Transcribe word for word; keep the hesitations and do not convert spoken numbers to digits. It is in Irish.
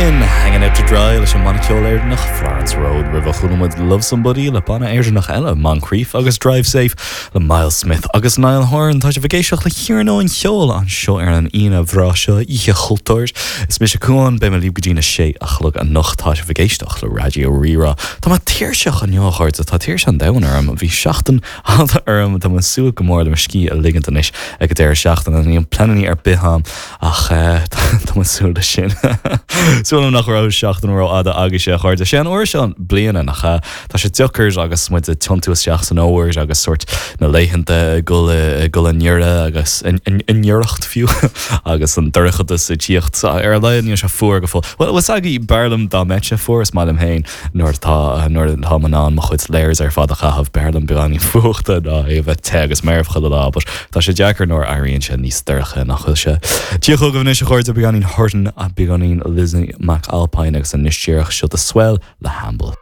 sin Hanging Out to Dry leis an mbanna ceoil Éireannach Florence Road roimhe chuala muid Love Somebody le banna Éireannach eile Moncrief agus Drive Safe le Myles Smith agus Niall Horan tá sibh ag éisteacht le hiarnóin cheoil anseo ar an Aoine bhreá seo Oíche Chultúir Is mise Cuán beidh mé libh go dtí a sé a chlog anocht tá sibh ag éisteacht le Raidió Rí-Rá Tá mé tuirseach inniu a chairde tá tuirse an domhain orm bhí seachtain fhada orm tá mé ag súil go mór le mo scíth a ligint anois ag an deireadh seachtaine níl pleananna ar bith agam ach eh, tá mé ag súil leis sin. Súil nach raibh seachtain rófhada agaibhse a chairde sé an uair seo bliana nach ea tá sé deacair agus muid ag tiontú isteach san fhómhar agus sórt na laethanta gul gul i ngiorra agus i ngiorracht fiú agus an dorchadas ag tíocht ar a laghad níl sé fuar go fóill. Well was agaí berlam dá mbeadh sé fuar is maith liom féin nuair tá nuair atá mé in ann mo chuid layers ar fad a chaitheamh b'fhearr liom beagáinín fuachta ná é bheith te agus marbh chuile lá, but tá sé deacair nuair éiríonn sé níos dorcha nach bhfuil sé. Tíoch anois a chairde beagáinín Horton a beagáinín Lizzie McAlpine agus anois díreach seo The Swell le Hamble.